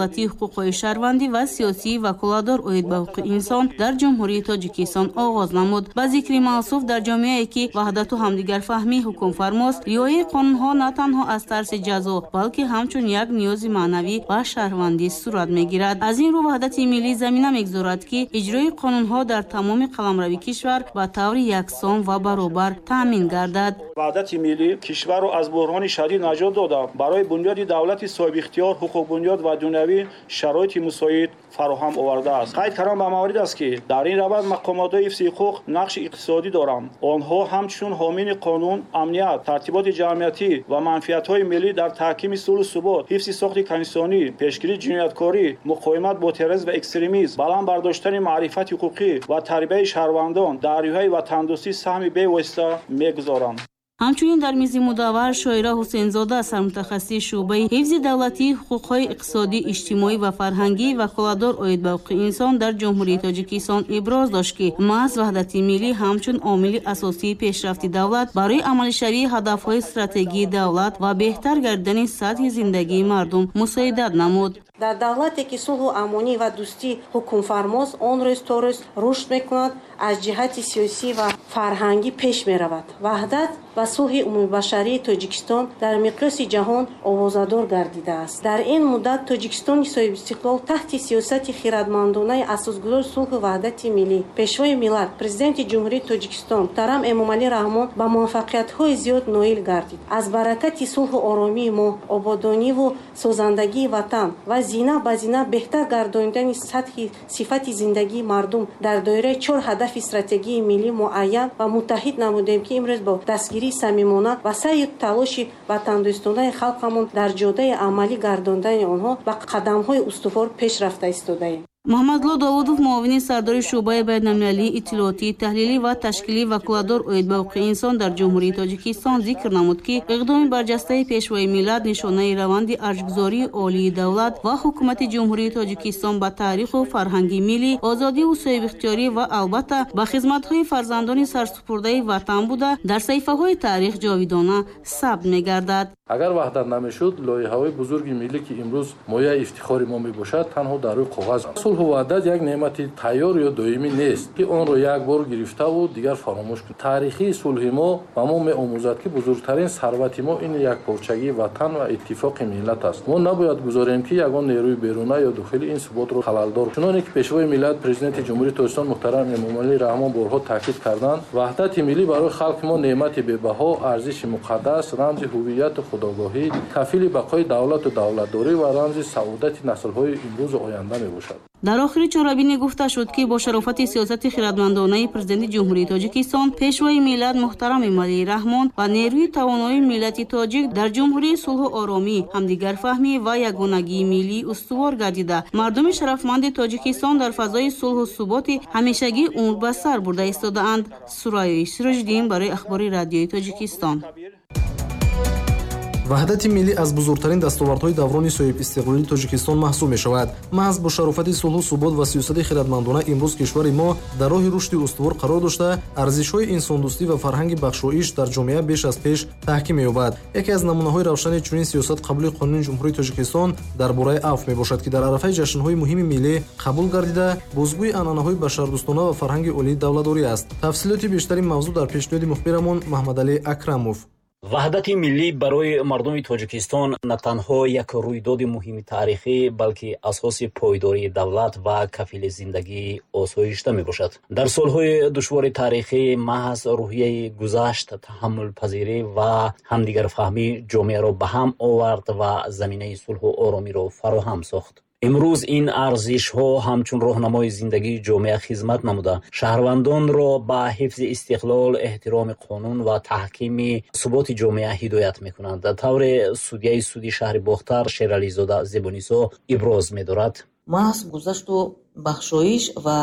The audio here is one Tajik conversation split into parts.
Давлатии ҳуқуқҳои шаҳрвандӣ ва сиёсии ваколатдор оид ба ҳуқуқи инсон дар Ҷумҳурии Тоҷикистон оғоз намуд. Ба зикри мавсуф, дар ҷомеае, ки ваҳдату ҳамдигарфаҳмӣ ҳукмфармост, риояи қонунҳо на танҳо аз тарси ҷазо, балки ҳамчун як ниёзи маънавӣ ва шаҳрвандӣ сурат мегирад. Аз ин рӯ, ваҳдати миллӣ замина мегузорад, ки иҷрои қонунҳо дар тамоми қаламрави кишвар ба таври яксон ва баробар таъмин гардад. Ваҳдати миллӣ кишварро аз буҳрони шадид наҷот дода, барои бунёди давлати соҳибихтиёр, ҳуқуқбунёд ва дунявӣ шароити мусоид фароҳам овардааст. Қайд кардан ба маврид аст, ки дар ин раванд мақомотҳои ҳифзи ҳуқуқ нақши иқтисодӣ доранд. Онҳо ҳамчун ҳомини қонун, амният, тартиботи ҷамъиятӣ ва манфиатҳои миллӣ дар таҳкими сулҳу субот, ҳифзи сохти конститутсионӣ, пешгирии ҷинояткорӣ, муқовимат бо терроризм ва экстремизм, баланд бардоштани маърифати ҳуқуқӣ ва тарбияи шаҳрвандон дар рӯҳияи ватандӯстӣ саҳми бевосита мегузоранд. Ҳамчунин дар мизи мудаввар Шоира Ҳусейнзода, сармутахассиси шӯъбаи ҳифзи давлатии ҳуқуқҳои иқтисодӣ, иҷтимоӣ ва фарҳангӣ, ваколатдор оид ба ҳуқуқи инсон дар Ҷумҳурии Тоҷикистон иброз дошт, ки маҳз ваҳдати миллӣ ҳамчун омили асосии пешрафти давлат барои амалишавии ҳадафҳои стратегии давлат ва беҳтар гардидани сатҳи зиндагии мардум мусоидат намуд. Дар давлате, ки сулҳу амонӣ ва дӯстӣ ҳукмфармост, он рӯз то рӯз рушд мекунад, аз ҷиҳати сиёсӣ ва фарҳангӣ пеш меравад. Ваҳдат ва сулҳи умумибашарии Тоҷикистон дар миқёси ҷаҳон овозадор гардидааст. Дар ин муддат Тоҷикистони соҳибистиқлол таҳти сиёсати хирадмандонаи асосгузори сулҳу ваҳдати миллӣ, Пешвои миллат, Президенти Ҷумҳурии Тоҷикистон муҳтарам Эмомалӣ Раҳмон ба муваффақиятҳои зиёд ноил гардид. Аз баракати сулҳу оромии мо, ободониву созандагии ватан ва зина ба зина беҳтар гардонидани сатҳи сифати зиндагии мардум дар доираи чор ҳадафи стратегии миллӣ муайян ва муттаҳид намудем, ки имрӯз бо дастгирии самимона ва саъю талоши ватандӯстонаи халқамон дар ҷодаи амалӣ гардондани онҳо ба қадамҳои устувор пеш рафта истодаем. Муҳаммадло Довудов, муовини сардори шӯъбаи байналмилалии иттилоотӣ, таҳлилӣ ва ташкилӣ, ваколатдор оид ба ҳуқуқи инсон дар Ҷумҳурии Тоҷикистон зикр намуд, ки иқдоми барҷастаи Пешвои миллат нишонаи раванди арҷгузории олии давлат ва ҳукумати Ҷумҳурии Тоҷикистон ба таъриху фарҳанги миллӣ, озодиву соҳибихтиёрӣ ва албатта ба хизматҳои фарзандони сарсупурдаи ватан буда, дар саҳифаҳои таърих ҷовидона сабт мегардад. Агар ваҳдат намешуд, лоиҳаҳои бузурги миллӣ, ки имрӯз мояи ифтихори мо мебошад, танҳо дар рӯи коғаз. Сулҳу ваҳдат як неъмати тайёр ё доимӣ нест, ки онро як бор гирифтаву дигар фаромӯш кунем. Таърихии сулҳи мо ба мо меомӯзад, ки бузургтарин сарвати мо ин якпорчагии ватан ва иттифоқи миллат аст. Мо набояд гузорем, ки ягон нерӯи беруна ё дохили ин суботро халалдор. Чуноне ки Пешвои миллат, Президенти Ҷумҳурии Тоҷикистон муҳтарам Эмомалӣ Раҳмон борҳо таъкид карданд, ваҳдати миллӣ барои халқи мо неъмати бебаҳо, арзиши муқаддас, рамзи ҳувияту худогоҳӣ, кафили бақои давлату давлатдорӣ ва рамзи саодати наслҳои имрӯзу оянда мебошад. Дар охири чорабинӣ гуфта шуд, ки бо шарофати сиёсати хирадмандонаи Президенти Ҷумҳурии Тоҷикистон, Пешвои миллат муҳтарам Эмомалӣ Раҳмон ва нерӯи тавонои миллати тоҷик дар ҷумҳурии сулҳу оромӣ, ҳамдигарфаҳмӣ ва ягонагии миллӣ устувор гардида, мардуми шарафманди Тоҷикистон дар фазои сулҳу суботи ҳамешагӣ умр ба сар бурда истодаанд. Сурайёи Сироҷиддин барои Ахбори Радиои Тоҷикистон. Ваҳдати миллӣ аз бузургтарин дастовардҳои даврони соҳибистиқлолии Тоҷикистон маҳсуб мешавад. Маҳз бо шарофати сулҳу субот ва сиёсати хирадмандона имрӯз кишвари мо дар роҳи рушди устувор қарор дошта, арзишҳои инсондӯстӣ ва фарҳанги бахшоиш дар ҷомеа беш аз пеш таҳким меёбад. Яке аз намунаҳои равшани чунин сиёсат қабули Қонуни Ҷумҳурии Тоҷикистон дар бораи афв мебошад, ки дар арафаи ҷашнҳои муҳими миллӣ қабул гардида, бозгӯи анъанаҳои башардӯстона ва фарҳанги олии давлатдорӣ аст. Тафсилоти бештари мавзӯъ дар пешниҳоди мухбирамон Маҳмадалӣ Акрамов. Ваҳдати миллӣ барои мардуми Тоҷикистон на танҳо як рӯйдоди муҳими таърихӣ, балки асоси пойдории давлат ва кафили зиндагии осоишта мебошад. Дар солҳои душвори таърихӣ маҳз рӯҳияи гузашт, таҳаммулпазирӣ ва ҳамдигарфаҳмӣ ҷомеаро ба ҳам овард ва заминаи сулҳу оромиро фароҳам сохт. Имрӯз ин арзишҳо ҳамчун роҳнамои зиндагии ҷомеа хизмат намуда, шаҳрвандонро ба ҳифзи истиқлол, эҳтироми қонун ва таҳкими суботи ҷомеа ҳидоят мекунанд. Тавре судяи суди шаҳри Бохтар Шерализода Зебунисо иброз медорад: Маҳз гузашту бахшоиш ва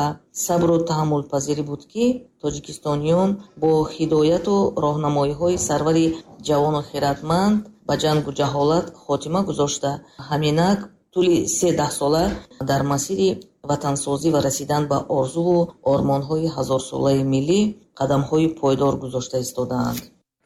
сабру таҳаммулпазирӣ буд, ки тоҷикистониён бо ҳидояту роҳнамоиҳои сарвари ҷавону хирадманд ба ҷангу ҷаҳолат хотима гузошта, ҳаминак тӯли се даҳсола дар масири ватансозӣ ва расидан ба орзуву ормонҳои ҳазорсолаи миллӣ қадамҳои пойдор гузошта истодаанд.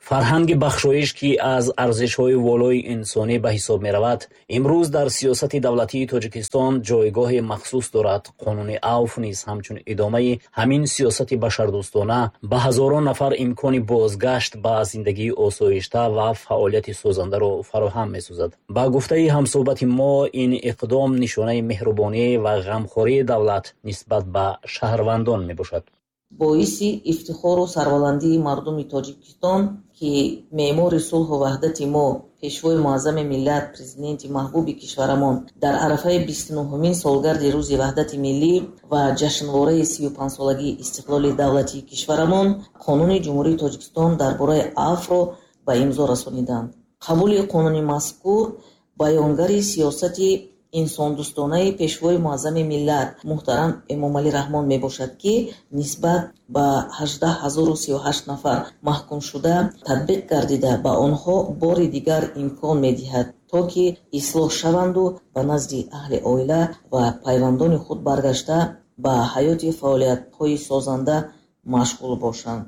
Фарҳанги бахшоиш, ки аз арзишҳои волои инсонӣ ба ҳисоб меравад, имрӯз дар сиёсати давлатии Тоҷикистон ҷойгоҳи махсус дорад. Қонуни авф низ ҳамчун идомаи ҳамин сиёсати башардӯстона ба ҳазорон нафар имкони бозгашт ба зиндагии осоишта ва фаъолияти созандаро фароҳам месозад. Ба гуфтаи ҳамсӯҳбати мо, ин иқдом нишонаи меҳрубонӣ ва ғамхории давлат нисбат ба шаҳрвандон мебошад. Боиси ифтихору сарбаландии мардуми Тоҷикистон, ки меъмори сулҳу ваҳдати мо, Пешвои муаззами миллат, Президенти маҳбуби кишварамон дар арафаи 29-умин солгарди Рӯзи Ваҳдати Миллӣ ва ҷашнвораи 35-солагии истиқлоли давлатии кишварамон Қонуни Ҷумҳурии Тоҷикистон дар бораи авфро ба имзо расониданд. Қабули қонуни мазкур баёнгари сиёсати инсондӯстонаи Пешвои муаззами миллат муҳтарам Эмомалӣ Раҳмон мебошад, ки нисбат ба 18 038 нафар маҳкумшуда татбиқ гардида, ба онҳо бори дигар имкон медиҳад, то ки ислоҳ шаванду ба назди аҳли оила ва пайвандони худ баргашта, ба ҳаёти фаъолиятҳои созанда машғул бошанд.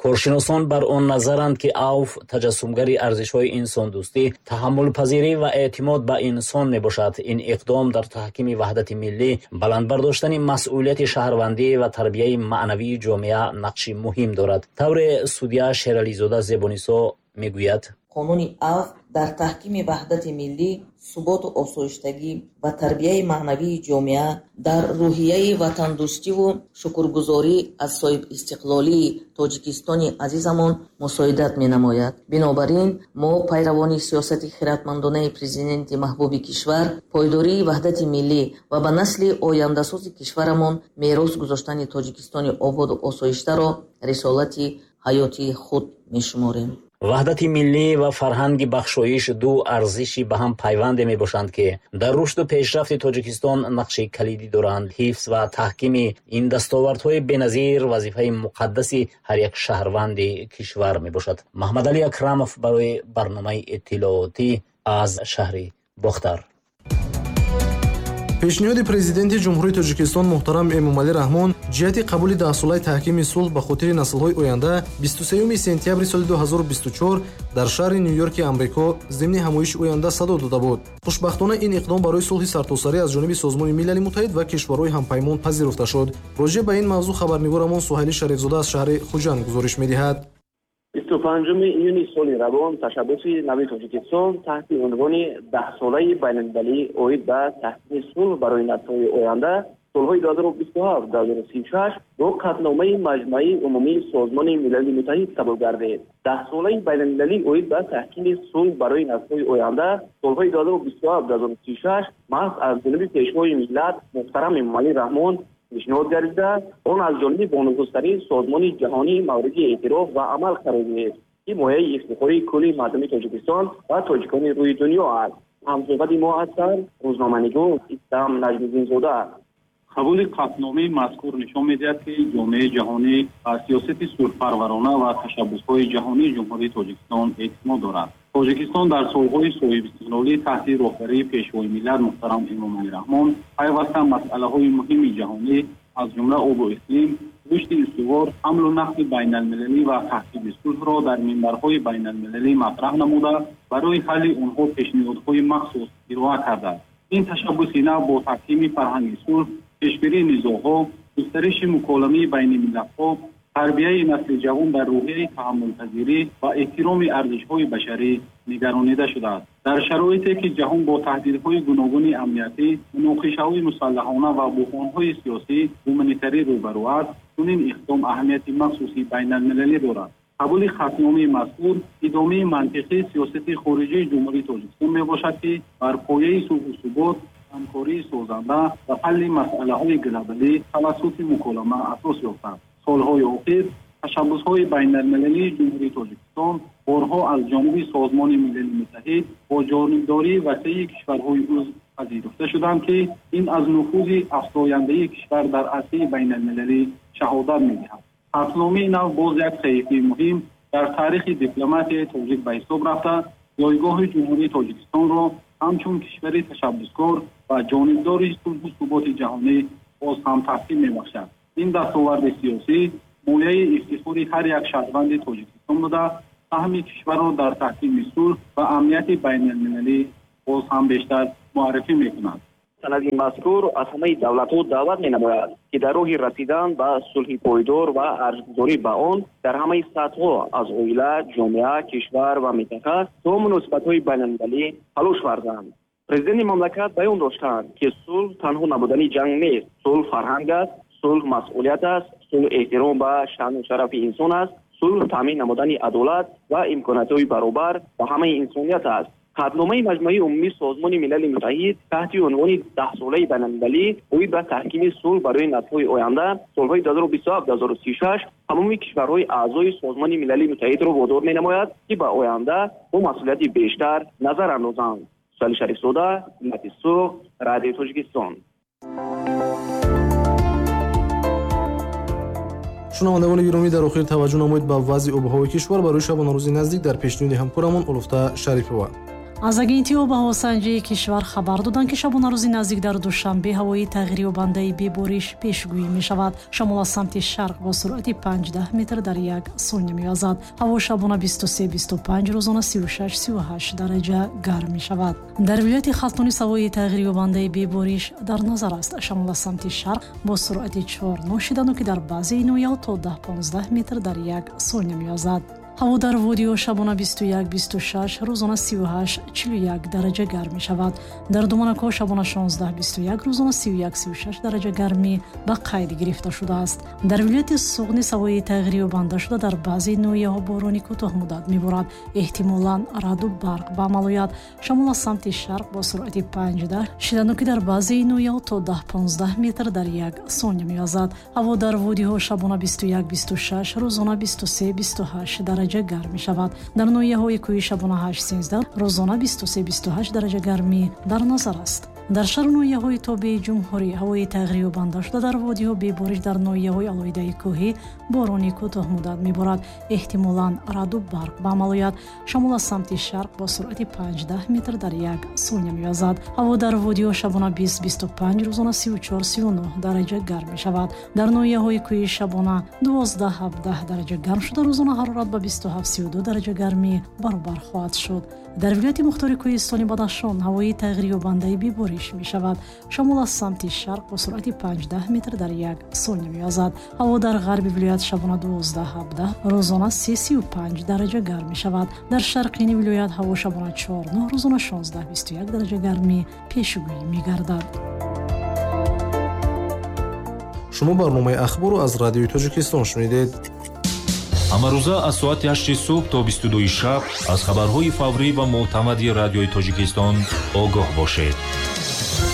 Коршиносон бар он назаранд, ки авф таҷассумгари арзишҳои инсондӯстӣ, таҳаммулпазирӣ ва эътимод ба инсон мебошад. Ин иқдом дар таҳкими ваҳдати миллӣ, баланд бардоштани масъулияти шаҳрвандӣ ва тарбияи маънавии ҷомеа нақши муҳим дорад. Тавре судя Шерализода Зебонисо мегӯяд: Қонуни авф дар таҳкими ваҳдати миллӣ, суботу осоиштагӣ ва тарбияи маънавии ҷомеа, дар рӯҳияи ватандӯстиву шукргузорӣ аз соҳибистиқлолии Тоҷикистони азизамон мусоидат менамояд. Бинобар ин мо, пайравони сиёсати хиратмандонаи Президенти маҳбуби кишвар, пойдории ваҳдати миллӣ ва ба насли ояндасози кишварамон мерос гузоштани Тоҷикистони ободу осоиштаро рисолати ҳаётии худ мешуморем. Ваҳдати миллӣ ва фарҳанги бахшоиш ду арзиши ба ҳам пайванде мебошанд, ки дар рушду пешрафти Тоҷикистон нақши калидӣ доранд. Ҳифз ва таҳкими ин дастовардҳои беназир вазифаи муқаддаси ҳар як шаҳрванди кишвар мебошад. Маҳмадалӣ Акрамов барои барномаи иттилоотӣ аз шаҳри Бохтар. Пешниҳоди Президенти Ҷумҳурии Тоҷикистон муҳтарам Эмомалӣ Раҳмон ҷиҳати қабули даҳсолаи таҳкими сулҳ ба хотири наслҳои оянда 23 сентябри соли 2024 дар шаҳри Ню-Йорки Амрико зимни ҳамоиши оянда садо дода буд. Хушбахтона, ин иқдом барои сулҳи сартосарӣ аз ҷониби Созмони Милали Муттаҳид ва кишварҳои ҳампаймон пазируфта шуд. Роҷеъ ба ин мавзӯъ хабарнигорамон Суҳайли Шарифзода аз шаҳри Хуҷанд гузориш медиҳад. 25 июни соли равон ташаббуси нави Тоҷикистон таҳти унвони Даҳсолаи байналмилалӣ оид ба таҳкими сулҳ барои наслҳои оянда, солҳои 2027-2036 бо қатъномаи Маҷмаи Умумии Созмони Милали Муттаҳид қабул гардид. Даҳсолаи байналмилалӣ оид ба таҳкими сулҳ барои наслҳои оянда, солҳои 2027-2036 маҳз аз ҷониби Пешвои миллат муҳтарам Эмомалӣ Раҳмон пешниҳод гардида, он аз ҷониби бонуфузтарин созмони ҷаҳонӣ мавриди эътироф ва амал қарор гирифт, ки мояи ифтихори кулли мардуми Тоҷикистон ва тоҷикони рӯи дунё аст. Ҳамсӯҳбати мо ҳастанд рӯзноманигор Истам Наҷмиддинзода. Қабули қатъномаи мазкур нишон медиҳад, ки ҷомеаи ҷаҳонӣ ба сиёсати сулҳпарварона ва ташаббусҳои ҷаҳонии Ҷумҳурии Тоҷикистон эътимод дорад. Тоҷикистон дар солҳои соҳибистиқлолӣ таҳти роҳбарии Пешвои миллат муҳтарам Эмомалӣ Раҳмон пайваста масъалаҳои муҳими ҷаҳонӣ, аз ҷумла обу иқлим, рушди устувор, ҳамлу нақли байналмилалӣ ва таҳкими сулҳро дар минбарҳои байналмилалӣ матраҳ намуда, барои ҳалли онҳо пешниҳодҳои махсус ироа кардааст. Ин ташаббуси нав бо таҳкими фарҳанги сулҳ, пешгирии низоъҳо, густариши муколамаи байни миллатҳо, тарбияи насли ҷавон дар рӯҳияи таҳаммулпазирӣ ва эҳтироми арзишҳои башарӣ нигаронида шудааст. Дар шароите ки ҷаҳон бо таҳдидҳои гуногуни амниятӣ, муноқишаҳои мусаллаҳона ва буҳронҳои сиёсӣ, гуманитарӣ рӯбарӯ аст, чунин иқдом аҳамияти махсуси байналмилалӣ дорад. Қабули қатъномаи мазкур идомаи мантиқии сиёсати хориҷии Ҷумҳурии Тоҷикистон мебошад, ки бар пояи сулҳу субот, ҳамкории созанда ва ҳалли масъалаҳои глобалӣ тавассути муколама асос ёфтааст. Солҳои охир ташаббусҳои байналмилалии Ҷумҳурии Тоҷикистон борҳо аз ҷониби Созмони Милали Муттаҳид бо ҷонибдории васеи кишварҳои узв пазируфта шуданд, ки ин аз нуфузи афзояндаи кишвар дар арсаи байналмилалӣ шаҳодат медиҳад. Қатъномаи нав боз як саҳифаи муҳим дар таърихи дипломатияи тоҷик ба ҳисоб рафта, ҷойгоҳи Ҷумҳурии Тоҷикистонро ҳамчун кишвари ташаббускор ва ҷонибдори сулҳу суботи ҷаҳонӣ боз ҳам таҳким мебахшад. Ин дастоварди сиёсӣ мояи ифтихори ҳар як шаҳрванди Тоҷикистон буда, Саҳми кишварро дар таҳкими сулҳ ва амнияти байналмилалӣ боз ҳам бештар муаррифӣ мекунад. Санади мазкур аз ҳамаи давлатҳо даъват менамояд, ки дар роҳи расидан ба сулҳи пойдор ва арҷгузорӣ ба он дар ҳамаи сатҳҳо аз оила, ҷомеа, кишвар ва минтақа то муносибатҳои байналмилалӣ талош варзанд. Президенти мамлакат баён доштанд, ки сулҳ танҳо набудани ҷанг нест. Сулҳ фарҳанг аст, сулҳ масъулият аст, сулҳ эҳтиром ба шаъну шарафи инсон аст, сулҳ таъмин намудани адолат ва имкониятҳои баробар ба ҳамаи инсоният аст. Қатъномаи Маҷмӯаи Умумии Созмони Милали Муттаҳид таҳти унвони Даҳсолаи байналмилалӣ оид ба таҳкими сулҳ барои наслҳои оянда солҳои 2027-2036 тамоми кишварҳои аъзои Созмони Милали Муттаҳидро водор менамояд, ки ба оянда бо масъулияти бештар назар андозанд. Сали Шарифзода, Миллати Суғд, Радиои Тоҷикистон. Шунавандагони гиромӣ, дар охир таваҷҷӯҳ намоед ба вазъи обу ҳавои кишвар барои шабонарӯзи наздик дар пешниҳоди ҳамкорамон Улуфта Шарипова. Аз Агентии обуҳавосанҷии кишвар хабар доданд, ки шабонарӯзи наздик дар Душанбе ҳавои тағйирёбандаи бебориш пешгӯӣ мешавад. Шамол аз самти шарқ бо суръати 5 метр дар як сония мевазад. Ҳаво шабона 23-25, рӯзона 36-38 дараҷа гарм мешавад. Дар вилояти Хатлон ҳавои тағйирёбандаи бебориш дар назар аст. Шамол аз самти шарқ бо суръати 4 шиданоки дар баъзеи ноҳияҳо то 10-15 метр дар як сония мевазад. Ҳаво дар водиҳо шабона 21-26, рӯзона 38-41 дараҷа гарм мешавад. Дар Думанакҳо шабона 16-21, рӯзона 31-36 дараҷа гармӣ ба қайд гирифта шудааст. Дар вилояти Суғд низ ҳавои тағйирёбанда шуда, дар баъзе ноҳияҳо борони кӯтоҳмуддат меборад. Эҳтимолан раъду барқ ба амал ояд. Шамол аз самти шарқ бо суръати 5 шиданоки дар баъзеи ноҳияҳо то 10-15 метр дар як сония мевазад. Ҳаво дар водиҳо шабона 21-26, рӯзона 23-28 дараҷа гарм мешавад. Дар ноҳияҳои кӯҳӣ шабона 8-13, рӯзона 23-28 дараҷа гармӣ дар назар аст. Дар шаҳру ноҳияҳои тобеи ҷумҳурӣ ҳавои тағйирёбанда шуда, дар водиҳо бебориш, дар ноҳияҳои алоҳидаи кӯҳӣ борони кӯтоҳмуддат меборад. Эҳтимолан раъду барқ ба амал ояд. Шамол аз самти шарқ бо суръати 5 метр дар як сония мевазад. Ҳаво дар водиҳо шабона 20-25, рӯзона 34-39 дараҷа гарм мешавад. Дар ноҳияҳои кӯҳӣ шабона 12-17 дараҷа гарм шуда, рӯзона ҳарорат ба 27-32 дараҷа гармӣ баробар хоҳад шуд. Дар вилояти мухтори кӯҳистони Бадахшон ҳавои тағйирёбандаи бебориш мешавад. Шамол аз самти шарқ бо суръати 5 метр дар як сония мевазад. Ҳаво дар ғарби вилоят шабона 12-17, рӯзона 3-35 дараҷа гарм мешавад. Дар шарқини вилоят ҳаво шабона 4-9, рӯзона 16-21 дараҷа гармӣ пешгӯӣ мегардад. Шумо барномаи ахборро аз Радиои Тоҷикистон шунидед. Ҳамарӯза аз соати 8 субҳ то 22 шаб аз хабарҳои фаврӣ ва мӯътамади Радиои Тоҷикистон огоҳ бошед.